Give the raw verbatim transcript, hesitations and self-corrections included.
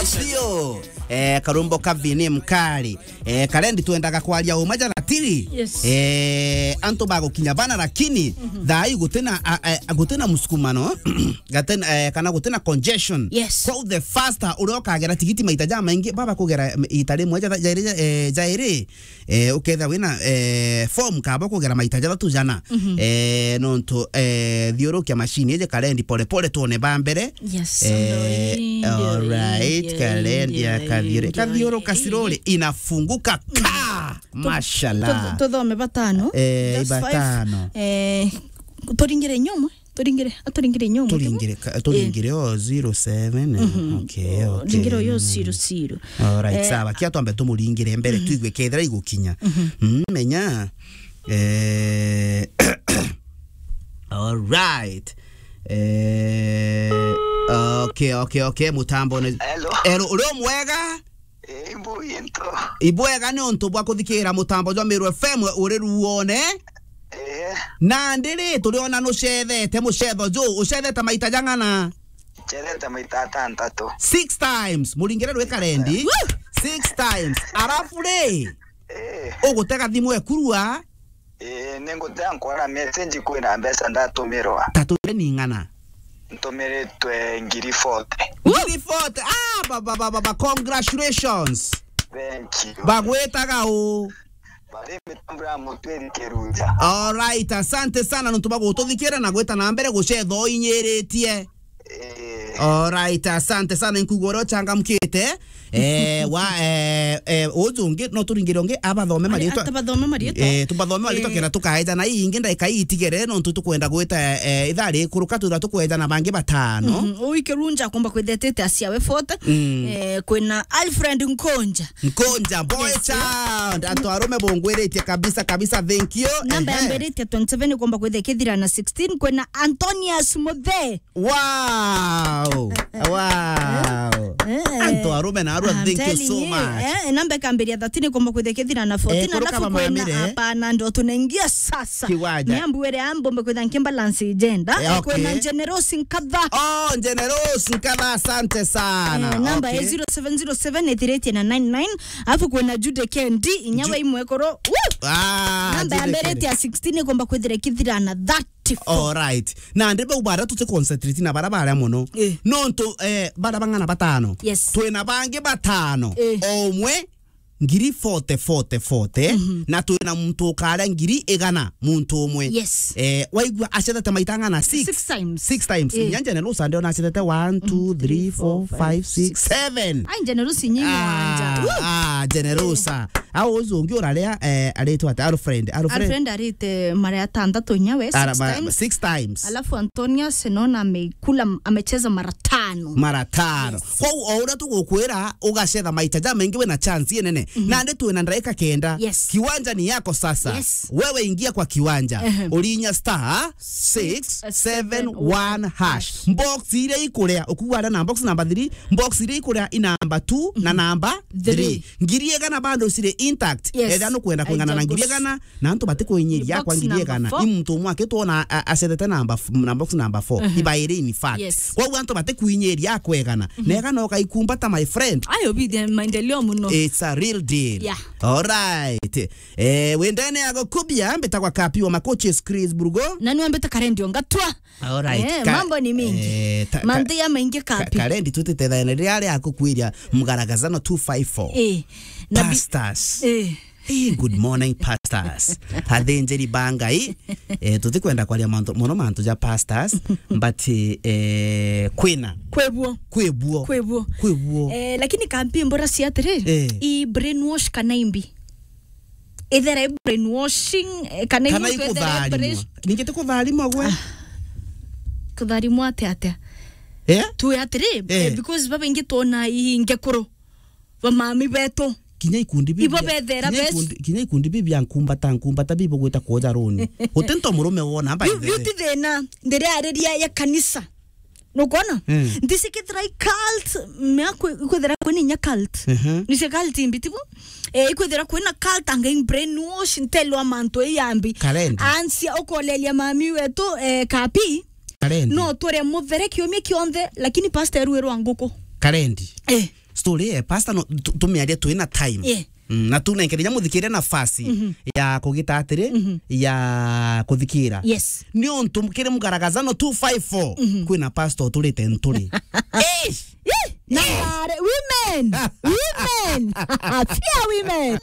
Sio. Eh, karumbo ka Vini Mkari. Eh, karendi twendaga kwaria uma jana tiri. Yes. Eh, antu bagukinya bana lakini, mhm, thaa ii gutina, a, a, gutina musukumano, gatina, eh, kana gutina congestion. Yes. Kwou the faster uria ukagera tigiti maita jamaingi, baba kugera ita rimwe ja, jairi, eh, jairi, eh, ukethira wina, eh, form kaba kugera maita jathatu jana. Mhm. Eh, nontu, eh, thiurukia machine iji karendi pole pole tuone ba mbere. Yes, eh, ndio hii, ndio alright, hii, ndio karendi hii, ya ndio kathiuru-, hii, ndio kathiuru hii. Kasiruri inafunguka. Ka! Tu-, mashallah. Tu-, tuthome batano. Eh, just five. Batano. Eh, turingire inyomwe. Turingire, aturingire inyomwe. Turingire ka-, turingire, eh, o zero seven, eh, mhm, okay, okay. Ringire uyo zero zero. Alright, eh, sawa. Kia twambe tumuringire mbere, mhm, tuigue kethira igukinya. Mhm. Mm, menya. Eh, alright. Eh, okay, okay, okay, mutambo ne-, hello. Hello, uri o mwega? Eh, imbu into. Ibwega ni untu bwa kuthikira mutambo jwa Meru F M uri ruone. Eh. Nandi ri, turiona nucethete mucetho ju, ucethete maita jang'ana? Ncethete maita atantatu. Six times. Muringire rwi karendi. Woo! Six times. Arafu ri, eh, ugutega thimu ekurua. Ii, ni ngutea nkwona message kwina mbeca ndatumirwa. Ta tumire ni ng'ana? Ntumiritwe ngiri forty. Ngiri forty? Ah, ba, ba, ba, ba, ba, congratulations. Thank you. Bagwitaga u? Bari mitambo ya Mutwiri Kirunja. Alright, asante sana nontu bwa gututhikira na gwita na mbere gucetha uinyiritie. Eh. Alright, asante sana, nkuigua uria uchangamkite. Eh, wa, eh, eh, uju ungi, no turingire ungi, abathome marietwa. Atabathome marietwa. Eh, tubathome marietwa, eh, kenda tukaejana. Ii ingi ndaika ii itigere, nontu tukwenda gwita, eh, ithaa rikuruka, twithira tukwejana bangi batano. Mhm. Ui Kirunja akomba kwithetete aciawe forty. Mm. Eh, kwina Alfred Nkonja. Nkonja, boy, yes, child. Antu arume bungwiritie kabisa, kabisa, thank you. Namba, ehe, yambiritie twenty-seven ikomba kwithia kithira na sixteen, kwina Antonius Muthe. Wow! Wow! Eh. Antu arume na arua, I'm telling you, thank you so much. Eh, namba ikambiria thirteen ikomba kwithia kithira na fourteen, eh, kuruka alafu kwina bamamire. Hapana, ndo tunaingia sasa. Kiwanja. Ni ambu ere ambo mbe kwitha nki balance agenda. Eh, okay. Kwina Generous Nkatha. Oh, Generous Nkatha, asante sana. Eh, namba, okay, ya zero seven zero seven ithiritie na nine nine. Alafu kwina Jude Kendi, inyawe imwe koro. Woo! Ah, namba ya mbere ya sixteen ikomba kwithira kithira na thirty-four. All right. Na ndi bau bara tuti concentrate na bara bara mono. Eh. Nontu, eh, bara bang'ana batano. Yes. Twina bangi batano. Eh. O umwe ngiri forty, forty, forty, mhm, na twina muntu ukaria ngiri igana, muntu umwe. Yes. Eh, waigua acethete maita ng'ana? Six. Six times. Six times. Eh. Nyanja na Lusa ndio acethete one, two, three, four, five, six, seven. Ai, Generous nyi mwanja. Ah, ah, Generous. Eh. Au ucio ungi uraria, eh, aritwa ati Alfred. Alfred. Alfred arite mara ya tantatu nyawe, ara-, six ma-, times. Six times. Alafu Antonia Senona amekula, amecheza mara tano. Mara tano. Yes. Kwou o uria tugukwira, ugacetha maita jamaingi, wina chance inene. Mhm. Nandi twina ndaika kenda. Yes. Kiwanja ni yako sasa. Yes. Wewe ingia kwa kiwanja. Ehe. Urinya star six seven one hash. Box iria ikuria, ukuwara na box number three, box iria ikuria i number two na number three. Three. Ngiri igana bado ciri intact. Yes. Ethira nukwenda kwingana na ngiri igana, na antu batikuinyiria kwa ngiri igana. Box number four. I muntu umwe akitwona a-, acethete namba f-, na box number four. Mhm. Ibairi, in fact. Yes. Kwou antu batikuinyiria akwegana. Mhm. Na egana ukaikumbata, my friend. Ayo bithia maendeleo muno. It's a real deal. Yeah. All right. Eh, wendene ya gukubia, mbitagwa Kapi wa Makoches, Chris Burgo. Na niwe mbita Karendi Ongatwa. All right. Eh, ka-, mambo ni mingi. Eh, ta-, ka-, manthi ya maingi ka-, Kapi. Karendi tutitethane riria ria kukwiria mgaragazano two five four. Eh, na bi-, pastors. Eh. Eh, good morning, pastors. Athinjiri ba Ngai. Eh, tutikwenda kwaria mantu, mono mantu ja pastors, but, eh, kwina. Kwebuo. Kwebuo. Kwebuo. Kwebuo. Eh, lakini Kapi mbora cia atiri, eh, i brainwash kana imbi? Ethera i brainwashing, eh, kana, kana muntu ethera i ikutharimwa. Brain-, ningi ti kutharimwa gwe? Ah. Kutharimwa atia atia? Eh? Tu atiri, eh, eh, because babaingi twona i ngekuru. Bamami betu. Kinya ikundi bibi. Ibo bethera kinya bes- ikundi, kinya ikundi bibi ya nkumbata, nkumbata bibo gwita kuoja runi. Guti nto murume wona amba. Yu, yu ti thina, ndiriariria ya kanisa. Nukwona? Mm. Ndicikithira i cult, mea kwi-, ikwithira kwina inya cult. Mhm. Nicio cult imbitibu. Eh, ikwithira kwina cult anga i brainwash, ntelwa mantu i yambi. Karendi. Ansia ukolelia mami wetu, eh, Kapi. Karendi. No twire muthere kiumia kionthe, lakini pastor erwirwa nguku. Karendi. Eh. story ya pastor no tu- tumiaria twina time. Yeah. Mm, na tunenkere ja muthikire nafasi ya kugita atiri, ya kuthikira. Yes. Ni untu kiri Mugaragazano two five four, kwina pastor uturite nturi. Eish! Ih! Na women! Women! Fear women!